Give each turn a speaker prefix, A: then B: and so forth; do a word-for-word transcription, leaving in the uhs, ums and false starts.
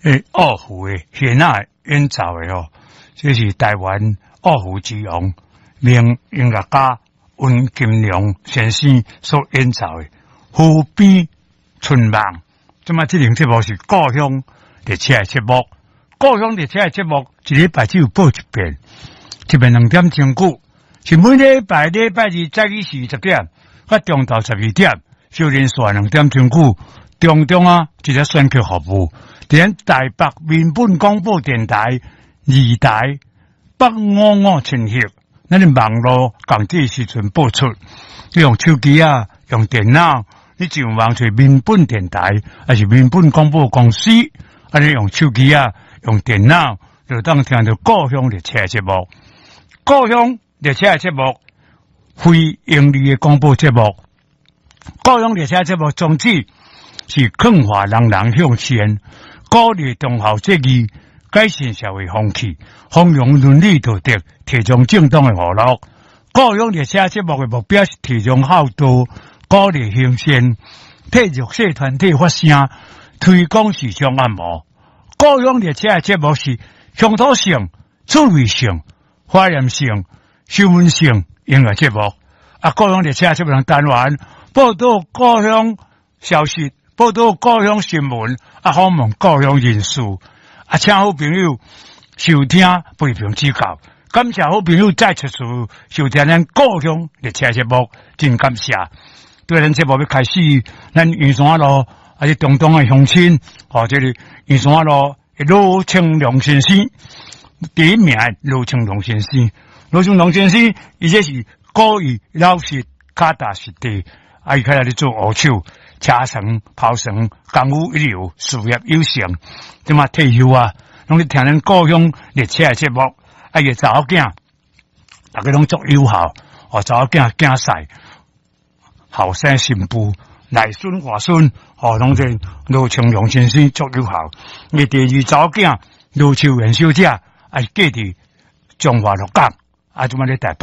A: 誒，二胡的弦仔演奏的哦，這是台灣二胡之王，名音樂家溫金良先生所演奏的《河邊春夢》。這擺這輪節目是故鄉列車的節目，故鄉列車的節目一禮拜只有播一遍，一遍兩點鐘久，是每禮拜禮拜二早起時十點，佮中晝十二點，小連續兩點鐘久，中中啊，一個選曲服務。佇台北民本廣播電台二台八五五千赫，咱的網路仝這時陣播出。你用手機啊，用電腦，你上網找民本電台，抑是民本廣播公司，啊，你用手機啊，用電腦，就當聽著故鄉列車節目。故鄉列車節目，非營利的廣播節目。故鄉列車節目宗旨是勸化人人向善。鼓勵忠孝節義，改善社會風氣，弘揚倫理道德，提倡正當的娛樂。故鄉列車節目的目標是提倡孝道，鼓勵行善，替弱勢團體發聲，推廣時尚按摩。故鄉列車的節目是鄉土性、趣味性、懷念性、新聞性音樂節目。啊，故鄉列車節目單元報導故鄉消息。報導故鄉新聞，啊，訪問故鄉人士，啊，請好朋友收聽，批評指教。感謝好朋友再次收聽咱故鄉列車節目，真感謝。對咱節目欲開始，咱圓山路抑是中東的鄉親，哦，這個圓山路羅清龍先生，第一名羅清龍先生，羅清龍先生，伊這是古意老實腳踏實地，啊，伊開始咧做烏手。車床、刨床，功夫一流，事業有成，這馬退休啊，攏咧聽咱故鄉列車的節目，啊，伊查某囝，逐家攏足友好，哦，查某囝囝婿，後生新婦，內孫外孫，哦，攏是羅清龍先生足友好。伊第二查某囝羅秋元小姐，啊，嫁佇彰化鹿港，啊，這馬咧台北。